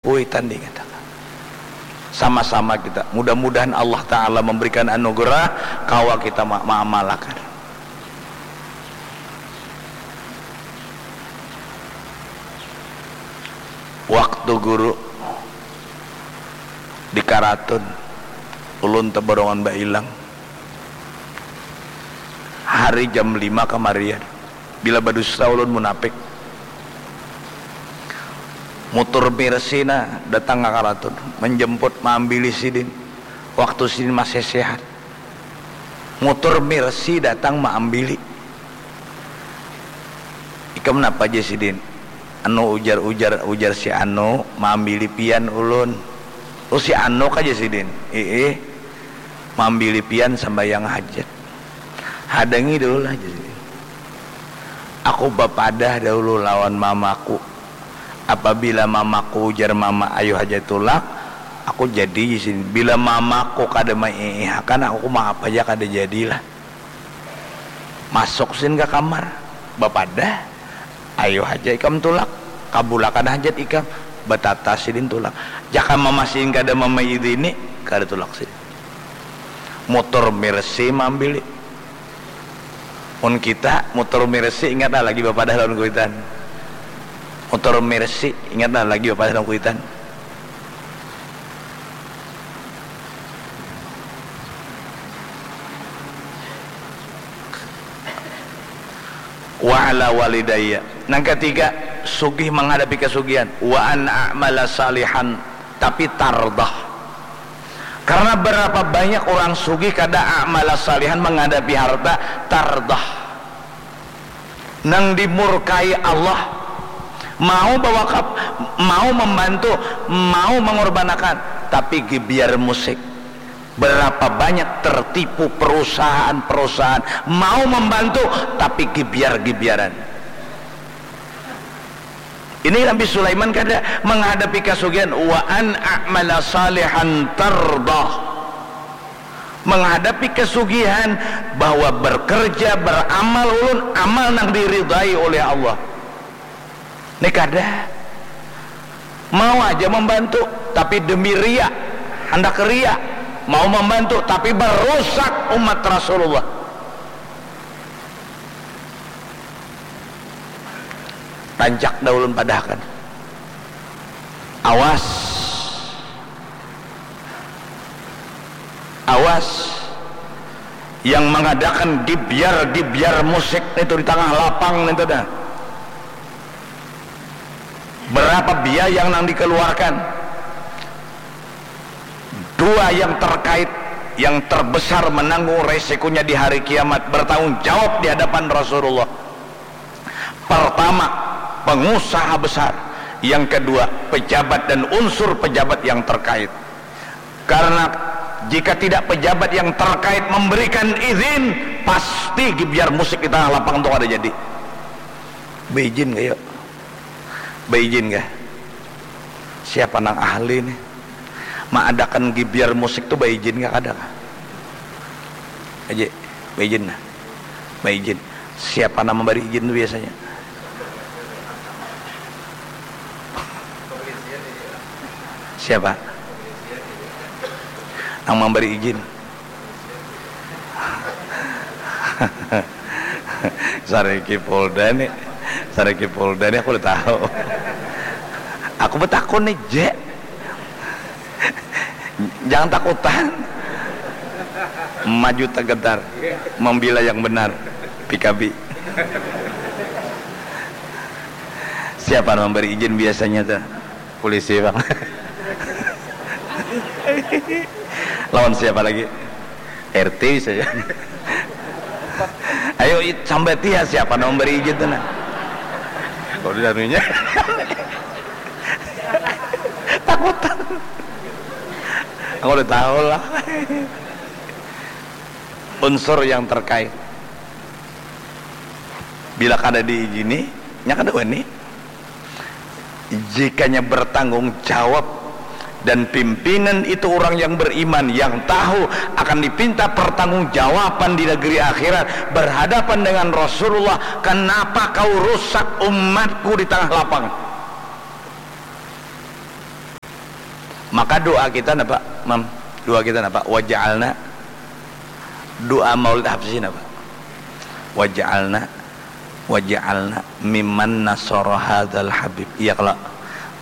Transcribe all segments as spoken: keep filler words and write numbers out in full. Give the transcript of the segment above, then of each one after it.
Kuitan diingat akan. Sama-sama kita. Mudah-mudahan Allah Ta'ala memberikan anugerah, kawa kita ma-, maamalakan. Waktu guru di Karatun, ulun tabarongan bailang. Hari jam lima kamarian. Bila badusta ulun munapik. Mutur Mercy nah datang ka Karatun, menjemput, maambili sidin. Waktu sidin masih sehat. Mutur Mercy datang maambili. Ikam napa, jar sidin? Anu, ujar, ujar, ujar si anu, maambili pian ulun. Oh, si anu kah, jar sidin? Iih. Maambili pian sambayang hajat. Hadangi dahulu lah, jar sidin. Aku bapadah dahulu lawan mamaku. Apabila mamaku ujar mama, "Ayu haja tulak," aku jadi, jar sidin. Bila mamaku kada maiihakan, aku maaf haja kada jadilah. Masuk sidin ka kamar, bapadah, "Ayu haja ikam tulak, kabulakan hajat ikam." Batatas sidin tulak. Jaka mama sidin kada mamaidini, kada tulak sidin. Mutur Mercy maambili. Mun kita, mutur Mercy, ingat lah lagi bapadah lawan kuitan. Mutur Mercy, ingat lah lagi bapadah lawan kuitan. Wa ala walidayya. Nang katiga, sugih menghadapi kasugihan. Wa an a'mala salihan, tapi tardah. Karena berapa banyak orang sugih kada a'mala salihan menghadapi harta, tardah. Nang dimurkai Allah, mau bawakaf, mau membantu, mau mengorbanakan, tapi gibiar musik. Berapa banyak tertipu perusahaan-perusahaan, mau membantu, tapi gibiar-gibiaran. Ini Nabi Sulaiman kada menghadapi kasugihan, "Wa an a'mala salihan tardah." Menghadapi kasugihan bahwa bekerja, beramal ulun, amal nang diridai oleh Allah. Ni kada. Mau aja membantu, tapi demi ria, handak ria. Mau membantu, tapi berusak umat Rasulullah. Rancak dah ulun padahkan. Awas. Awas. Yang mengadakan gibyar-gibyar musik itu di tengah lapang itu dah. Berapa biaya yang nang dikeluarkan? Dua yang terkait, yang terbesar menanggung resikonya di hari kiamat, bertanggung jawab di hadapan Rasulullah. Pertama, pengusaha besar. Yang kedua, pejabat dan unsur pejabat yang terkait. Karena jika tidak pejabat yang terkait memberikan izin, pasti gibyar musik di tengah lapang tu kada jadi. Beijin kah, yuk? Beijin kah? Siapa nang ahli nih? Maadakan gibyar musik tu baijin kah kada kah? Aja, baijin nah. Baijin. Siapa nang mambari ijin tu biasanya? Siapa? Nang mambari ijin. Sariki Polda nih. Sariki Polda nih, aku udah tahu. Aku betakun nih, Je. Jangan takutan. Maju tegentar. Membela yang benar. P K B. Siapa nang memberi izin biasanya tuh? Polisi, Bang. Lawan siapa lagi? R T bisa ya. Ayo, it-, sambati ya, siapa nang memberi izin tuh, nah? Kalau di danunya. Takutan. Aku udah tahu lah. Unsur yang terkait. Bila kada diizini, nya kada wani. Jikanya bertanggung jawab dan pimpinan itu orang yang beriman, yang tahu akan dipinta pertanggungjawaban di negeri akhirat, berhadapan dengan Rasulullah, "Kenapa kau rusak umatku di tengah lapang?" Maka doa kita napa, Mam? Doa kita napa? Waja'alna. Doa Maulid Habsyi napa? Waja'alna, waja'alna mimman nasara hadzal habib. Iya kalo,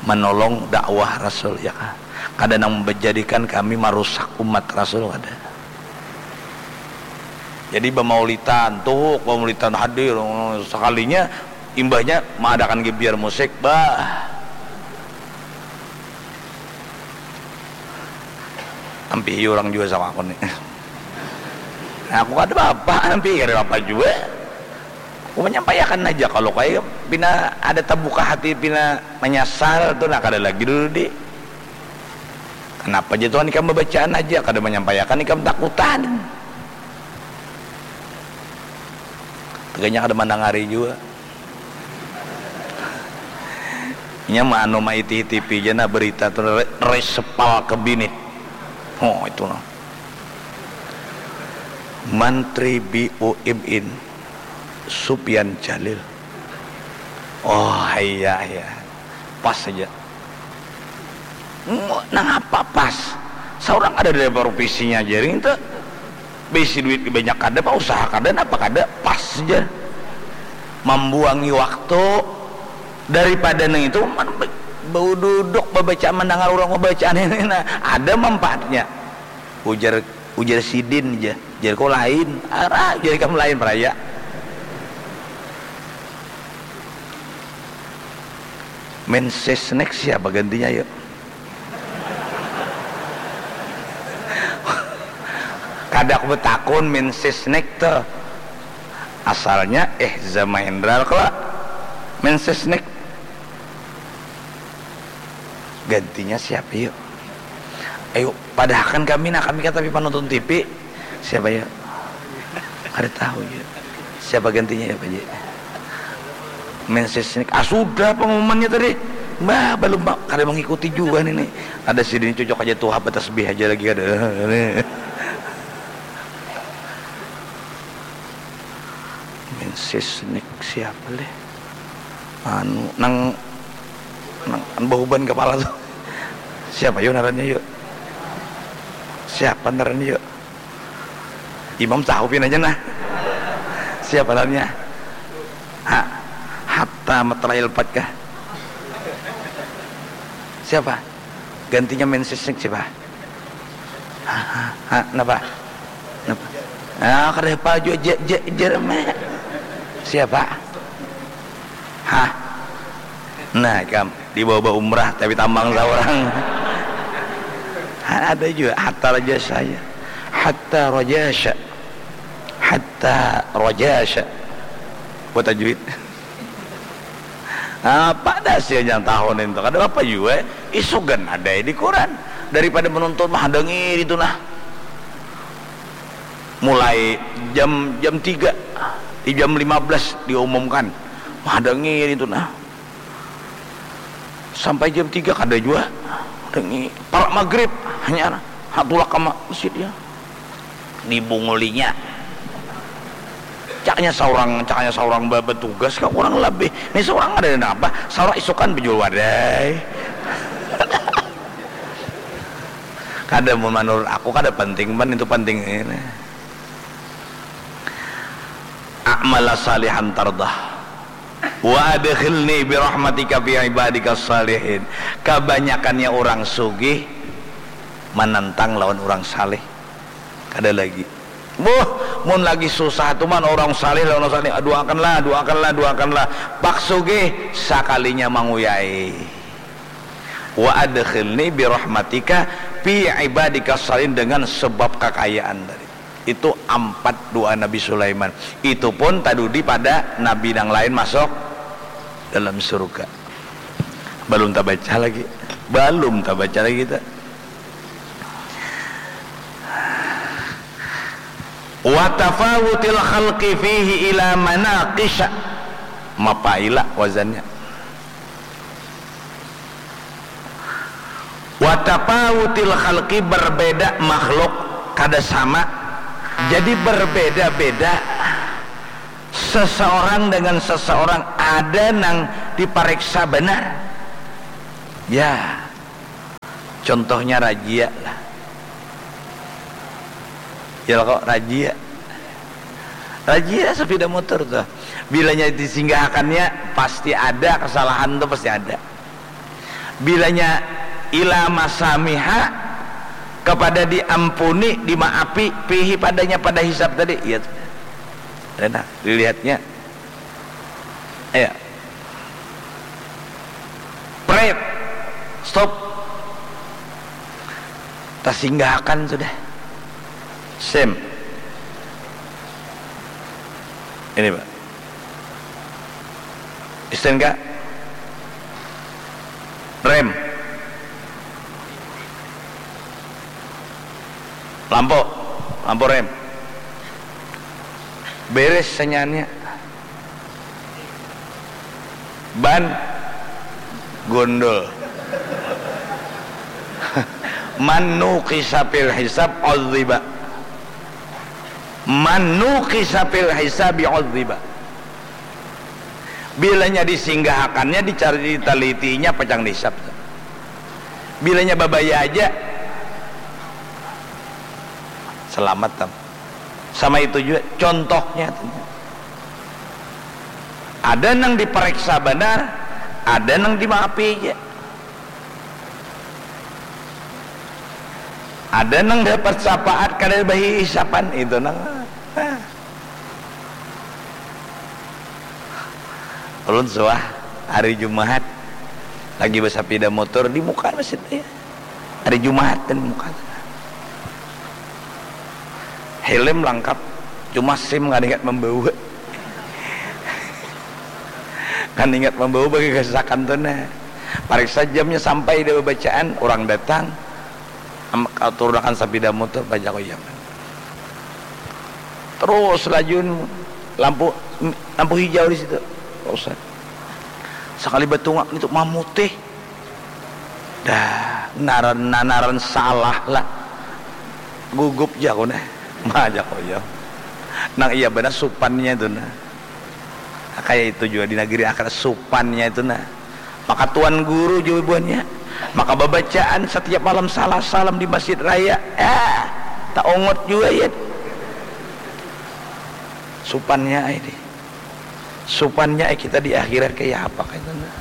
menolong dakwah Rasul, ya kah? Kada nang menjadikan kami marusak umat Rasul, kada. Jadi bamaulitan, tuhuk bamaulitan hadir, sakalinya imbahnya maadakan gebyar musik, bah. Ampih urang jua sama aku nih. Nah, aku kada apa-apa, ampih kada apa jua. Aku menyampaikan aja kalau kayak pina ada terbuka hati, pina menyesal tuh, nah kada lagi dulu di. Kenapa aja Tuhan ikam bacaan aja, kada menyampaikan ikam takutan. Teganya kada mandangari jua. Nya maanu maitihi T V ja nah berita tu re-, resepal kabinet. Oh, itu nah. Mantri B U M N Supian Jalil. Oh, iya, iya. Pas saja. Nang apa pas? Saurang ada dari provinsinya jaring tu. Bisi duit banyak kada, pak usaha kada, napa kada, pas ja. Mambuangi waktu daripada nang itu, man, be-, bau duduk babaca, mandangar urang babacaan ini, nah, ada manfaatnya. Ujar, ujar sidin ja, jar ko lain, arah, jar ikam lain, peraya. Mensesnek siapa gantinya, yuk? Kada aku betakun Mensesnek tuh. Asalnya, eh, Zamahendra kalo Mensesnek. Gantinya siapa, yuk? Ayo, padahakan kami, nah, kami kan tapi penonton T V. Siapa, yuk? Kada tahu, yuk. Siapa gantinya, ya, Pak Ji? Mensesnek. Ah, sudah pengumumannya tadi. Bah, belum, Pak. Kada mengikuti juga nih, nih. Ada sidin cocok aja tuh, apa tasbih aja lagi ada. Mensesnek siapa, leh? Anu, nang, nang, nang bauban kepala tuh. Siapa, yuk, ngarannya, yuk? Siapa ngarannya, yuk? Imam tahu pin aja, nah. Siapa ngarannya? Ha, Hatta Matla'il Fajr kah? Siapa? Gantinya Mensesnek siapa? Ha, ha, ha, napa? Napa? Ah, kada hafal jua, je, je, jerme. Siapa? Hah? Nah, ikam dibawa baumrah tapi tambang saurang. Ha, ada jua, hatta rajasya. Hatta rajasya. Hatta rajasya. Buat tajwid. Apa dah sia yang tahun itu? Kada apa jua. Isugan ada di koran. Daripada menuntut mah, ada ngiri itu nah. Mulai jam, jam tiga, di jam lima belas diumumkan. Mah, ada ngiri itu nah. Sampai jam tiga kada jua. Ada ngiri. Parak maghrib, hanyar. Ha, tulak ka ma-, masjid, ya. Dibungulinya. Caknya saurang, caknya saurang ba-, batugas ka kurang labih. Ni saurang ada napa? Saurang isukan bejul wadai. Kada, mun manurut aku kada penting, pan itu penting ini. A'mala salihan tardah. Wa adkhilni bi rahmatika fi ibadika salihin. Kabanyakannya orang sugih manantang lawan orang saleh. Kada lagi. Buh, mun lagi susah tu man orang saleh lawan orang saleh. Doakanlah, doakanlah, doakanlah. Pak sugih sakalinya manguyai. Wa adkhilni bi rahmatika fi ibadika salihin, dengan sebab kakayaan tadi. Itu ampat doa Nabi Sulaiman. Itu pun tadudi pada nabi nang lain masuk dalam surga. Balum tabaca lagi. Balum tabaca lagi kita. Wa tafawutil khalqi fihi ila manaqisha. Mapaila wazannya. Wa tafawutil khalqi, berbeda makhluk, kada sama. Jadi berbeda-beda seseorang dengan seseorang, ada nang dipareksa benar. Ya. Contohnya rajia lah. Ya kok rajia. Rajia sepeda motor tuh. Bilanya disinggahakannya pasti ada kesalahan tuh pasti ada. Bilanya ila masamiha kepada diampuni, dimaafi, pihi padanya pada hisab tadi. Iya tuh. Enak dilihatnya. Ayo. Pret. Stop. Tasinggahakan sudah. Sim. Ini, Pak. Isten ka? Rem. Lampu. Lampu rem. Beres senyannya. Ban. Gondol. Man nuqisa fil hisab udziba. Man nuqisa fil hisabi udziba. Bilanya disinggahakannya, dicari, ditalitinya, pacang dihisab. Bilanya babaya aja, selamat tam. Sama itu juga contohnya. Ada nang diperiksa benar, ada nang dimaafi aja. Ada nang dapat syafaat kada bahisapan itu nang. Nah. Ulun suah hari Jumahat lagi bersepeda motor di muka masjid ya. Hari Jumahat dan muka. Helm lengkap, cuma SIM kada ingat membawa. Kan ingat membawa bagi kesesakan tu nah. Pariksa jamnya sampai dia bacaan, orang datang, am- turunakan sapida motor, bajaku iya. Terus lajun lampu lampu hijau di situ. Terus sakali batungak itu mamutih. Dah, naran nanaran salah lah. Gugup jaku nah. Mah jaku iya. Nang iya benar supannya itu nah. Kaya itu jua di nageri akhirat supannya itu nah. Maka tuan guru jua buhannya. Maka babacaan satiap malam salah salam di masjid raya. Ah, taungut jua ya. Supannya ai di. Supannya ai kita di akhirat kaya apa kaya itu nah.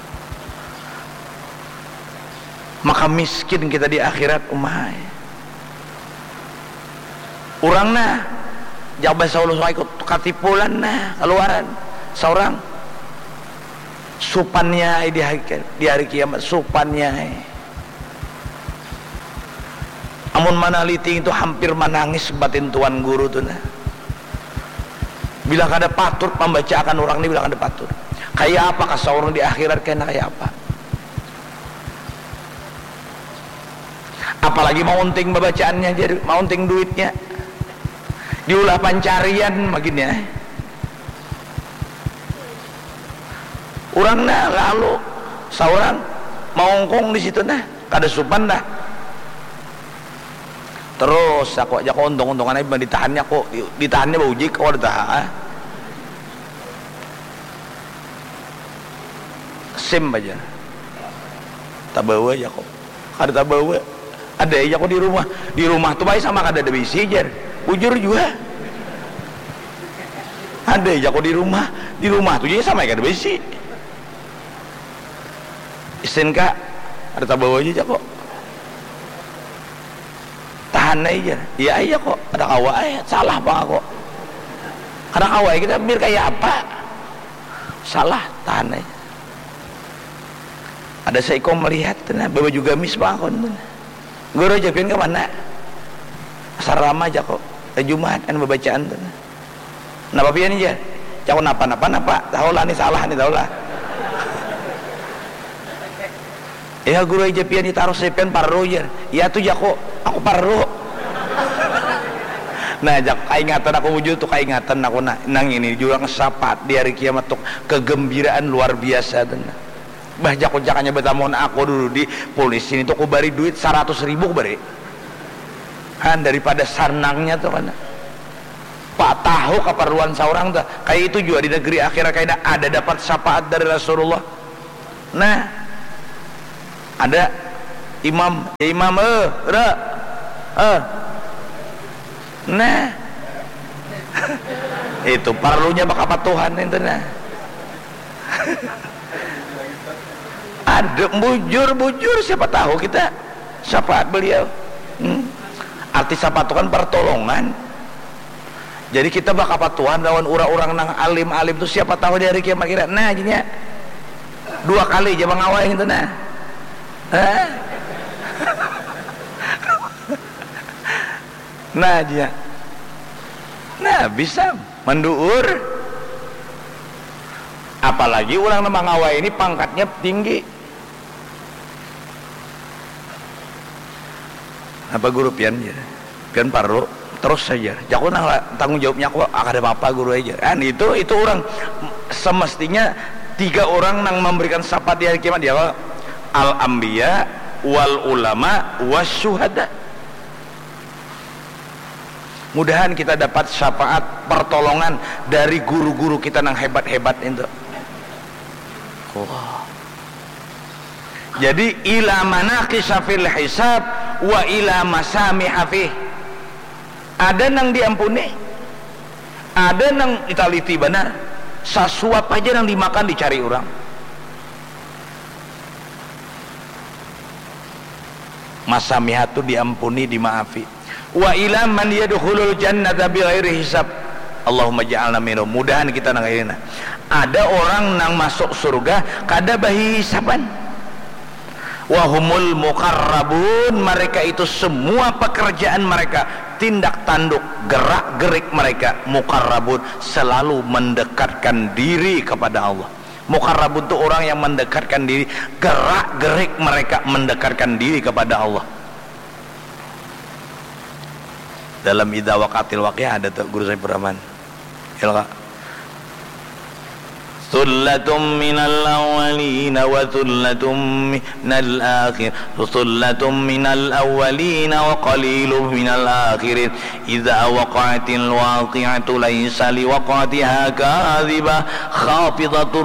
Maka miskin kita di akhirat umai. Urang nah, jauh bahasa ulun ikut katipulan nah, kaluaran saurang. Supannya ai di hari, di hari kiamat, supannya ai. Amun manaliti itu hampir manangis batin tuan guru tu nah. Bila kada patut membacakan orang ni, bila kada patut. Kaya apa kasau orang di akhirat kena kaya apa? Apalagi maunting babacaannya jadi maunting duitnya. Diulah pancarian maginnya. Urang nah lalu saurang maungkung di situ nah, kada supan dah. Terus aku aja kok untung-untungan aja ditahannya kok, ditahannya bau jik kok ada taha. Sim aja. Tabawa aja kok. Kada tabawa. Ada aja kok di rumah. Di rumah tuh baik sama kada ada bisi jar. Bujur juga. Ada aja kok di rumah. Di rumah tuh jadi sama kada bisi. Isin kak, ada tabawa aja kok. Tahan aja. Iya aja kok. Ada kawa aja. Salah apa kok. Kada kawa kita bir kayak apa. Salah tahan aja. Ada seiko melihat tuh nah, bawa juga mis bangun tuh nah. Guru aja pian ke mana? Asrama aja kok. Hari Jumat kan babacaan tuh nah. Napa pian aja? Cakap napa napa napa. Tahu lah ni salah ni tahu lah. Ya guru aja pian ditaruh sepian parro jar. Ya tuh jako, aku parro. Nah, jak kaingatan aku wujud tuh kaingatan aku nah, nang ini jurang sapat di hari kiamat tuh kegembiraan luar biasa tuh nah. Bah jako jakanya betamuan aku dulu di polisi ini tuh aku bari duit seratus ribu aku bari. Han daripada sanangnya tuh kan. Pak tahu keperluan seorang tuh kayak itu juga di negeri akhirat kayak ada dapat syafaat dari Rasulullah. Nah, ada Imam, ya imam, eh, ra, eh. Nah. Itu parlunya bakapatuhan itu nah. Ada bujur-bujur, siapa tahu kita syafaat beliau. Hmm. Arti syafaat itu kan pertolongan. Jadi kita bakapatuhan lawan orang-orang nang alim-alim tu, siapa tahu di hari kiamat kita. Nah, jadinya dua kali aja mangawai itu nah. Hah? Nah, dia. Nah, bisa manduur. Apalagi orang nang mangawai ini pangkatnya tinggi. Apa guru pian, jar? Pian parlu terus saja. Jaku nang la-, tanggung jawabnya aku, ah, kada apa-apa guru aja. Kan itu, itu orang semestinya tiga orang nang memberikan syafaat di hari kiamat, dia apa? Al anbiya wal ulama was syuhada. Mudahan kita dapat syafaat pertolongan dari guru-guru kita nang hebat-hebat itu. Wah. Jadi ila manaqisha fil hisab wa ila masamiha fih. Ada nang diampuni, ada nang ditaliti banar. Sasuap aja nang dimakan dicari orang. Masamiha tu diampuni, dimaafi. Wa ila man yadkhulul jannata bighairi hisab. Allahumma ja'alna minhum. Mudahan kita nang ini nah. Ada orang nang masuk surga kada bahisaban. Wahumul muqarrabun, mereka itu semua pekerjaan mereka, tindak tanduk, gerak gerik mereka, muqarrabun, selalu mendekatkan diri kepada Allah. Muqarrabun tu orang yang mendekatkan diri, gerak gerik mereka mendekatkan diri kepada Allah. Dalam Idza Waqatil Waqiah ada tu, Guru Saifur Rahman. Ilqa. Tsullatum minal awwalina wa tsullatum minal akhir. Tsullatum minal awwalina wa qalilum minal akhirin. Idza waqa'atil waqi'atu laisa liwaq'atiha kadzibah, khafidatur